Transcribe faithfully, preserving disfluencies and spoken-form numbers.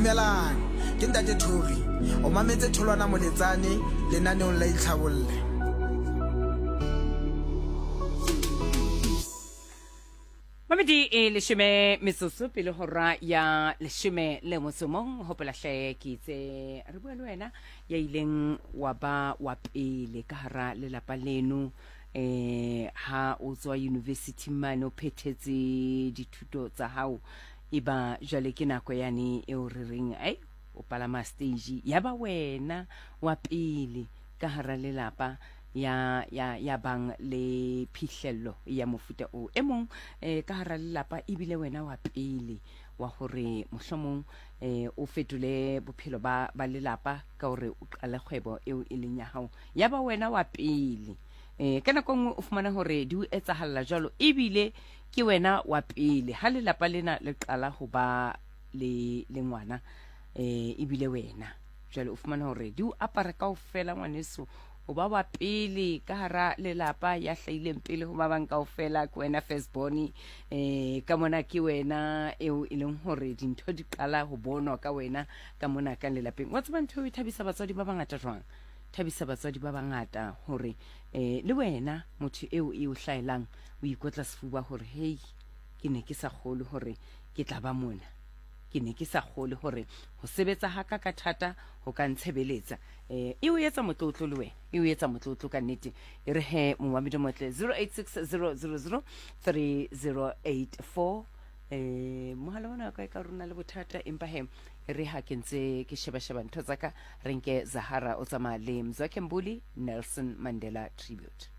Dumelang, ke Ntate Thori. O mametse Tholwana Moletsane lenaneong la Itlhabolle. Mamedi e leshome metsotso pele hora ya leshome le motso mong. Hopola hle ke itse re bua le wena ya ileng wa ba wa pele ka hara lelapa leno, eh ha o tswa university mane o phethetse dithuto tsa hao, e ba jwale ke nako yane eo re reng ai o palama stage, ya ba wena wa pele ka hara lelapa ya ya ya bang le phihlello ya mofuta o e mong eh ka hara lelapa, ebile wena wa pele wa hore mohlomong eh o fetole bophelo ba ba lelapa ka hore o qale kgwebo eo e leng ya hao, ya ba wena wa pele. Eh ka nako nngwe o fumana hore di o etsahalla jwalo, ebile ke wena wa pele ha lelapa lena le qala ho ba le le ngwana, eh ebile wena jwale o fumana hore di o apara kaofela ngwaneso, o ba wa pele ka hara lelapa ya hlahileng pele ho ba bang kaofela, ke wena first born, eh ka mona ke wena eo e leng hore dintho di qala ho bonwa ka wena ka mona ka lelapeng. Wa tseba ntho e thabisa batswadi ba bangata jwang? Thabisa batswadi ba bangata hore eh le wena motho eo e o hlaelang o ikotla sefuba hore hey, ke ne ke sa kgolwe hore ke tla ba mona, ke ne ke sa kgolwe hore ho sebetsa ha ka ka thata ho ka ntshebeletsa. Eh e o etsa motlotlo le wena, e o etsa motlotlo ka nnete. E re he momamedi motle zero eight six zero zero zero three zero eight four. Eh mohala ona ka ka rona le bothata, empa he re ha ke ntse ke sheba sheba ntho tsa ka, re nke Zahara o tsamaya le Mzwakhe Mbuli, Nelson Mandela tribute.